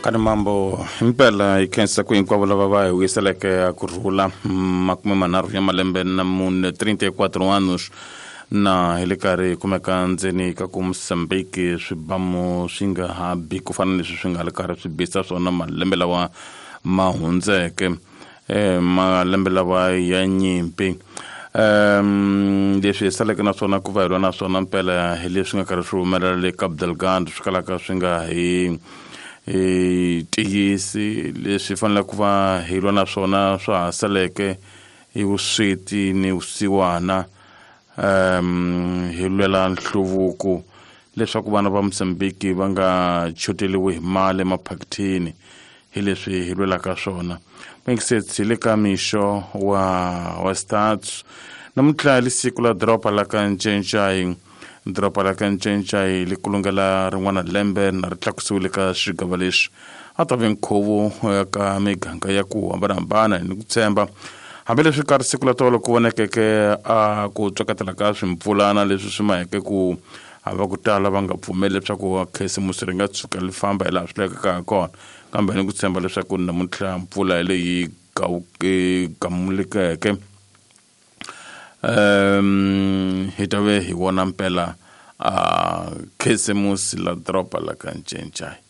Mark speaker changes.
Speaker 1: Kani mambo himpela hi khensa ku hinkwavo lava va hi vuyiseleke a ku rhula 34 ya malembe na mune 34 anos na hi le karhi hi kumeka ndzeni ka ku Mozambique swibamu swi nga ha bi ku fana leswi swi nga le karhi swi bisa swona malembe lawa ma hundzeke malembe lawa ya nyimpi. Leswi hi saleke na swona ku va hi lwa na swona mpela hi leswi nga karhi swi humelela le Cabo Delgado swi kalaka swi nga hi tiyisi leswi faneleke ku va hi lwa na swona swa ha saleke hi vusweti ni vusiwana hi lwela nhluvuko leswaku vana va Mozambique va nga choteliwi hi mali emaphakithini hi leswi hi lwelaka swona. Mingisets hi le ka mixo wa stats namuntlha li siku la doroba la ka Ncencai. Doroba la ka Ncencai li kulungela rin'wana lembe na ri tlakusiwile ka xigava lexi a ta ve nkhuvo ka miganga ya ku hambanahambana ni ku tshemba hambileswi ka siku la tolo ku vonekeke a ku tswakatela ka swimpfulana leswi swi maheke ku hava ku tala va nga pfumeli leswaku khisimusi ri nga tshuka li famba hi laha swi lavekaka ha kona kambe ni ku tshemba leswaku namuntlha mpfula hi leyi gamulekeke hi ta ve hi vona mpela a khisimusi la doroba la ka Ncencai.